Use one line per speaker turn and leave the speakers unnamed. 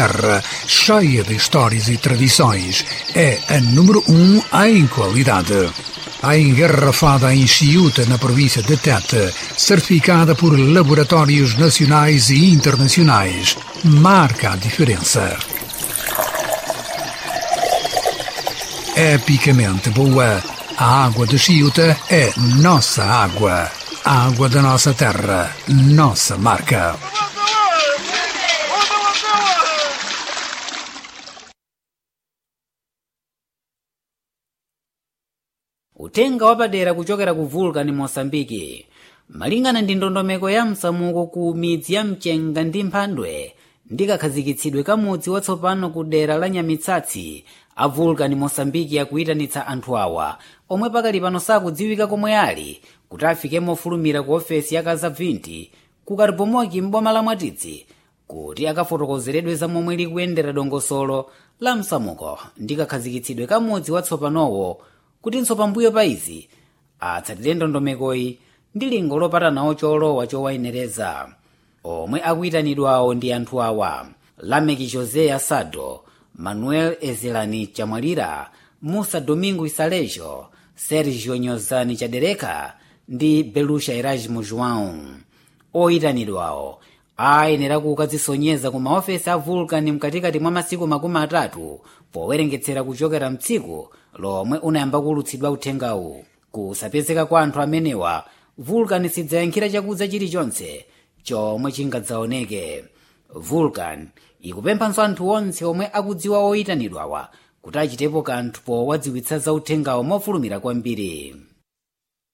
Serra, cheia de histórias e tradições, é a número 1 em qualidade. A engarrafada em Chiuta, na província de Tete, certificada por laboratórios nacionais e internacionais, marca a diferença. Epicamente boa, a água de Chiuta é nossa água. A água da nossa terra, nossa marca.
Uthenga wapadera kuchokera ku Vulcan Mosambiki. Malingana ndi ndondomeko ya msamuko ku midzi ya Mchenga ndi Mphandwe ndi kakhazikitsidwe ka mudzi watsopano ku dera la Nyamitsatsi, a Vulcan Mosambiki akuyitanitsa anthu awa omwe pakali pano sakudziwika komwe ali kuti afike mofulumira ku ofesi ya Kazabvinti ku Karibomoki m'boma la Mwatitsi kuti akafotokozeredwe za momwe likuyendera dongosolo la msamuko ndi kakhazikitsidwe ka mudzi watsopanowo, kutinso pambuyo pa izi atsatire ndondomekoyi ndi lingo lopatanawo cholowa chowayenereza. Omwe akuyitanidwawo ndi anthu awa: Lameki José Asado, Manuel Ezelani Chamwalira, Musa Domingo Isalejo, Sergio Nyozani Chadereka ndi Belusha Erasmo João. Oyitanidwawo ayenera kukadzisonyeza ku maofesi a Vulcan mkatikati mwa masiku 30 powerengetsera kuchokera mtsiku lomwe unayamba kuwulutsidwa uthengawu. Kusapezeka kwa anthu amenewa, Vulcan sidzayankhira chakudza chilichonse chomwe chingadzaoneke. Vulcan ikupemphanso anthu onse omwe akudziwa oyitanidwawa kuti achitepo kanthu powadziwitsa za uthengawo mofulumira kwambiri.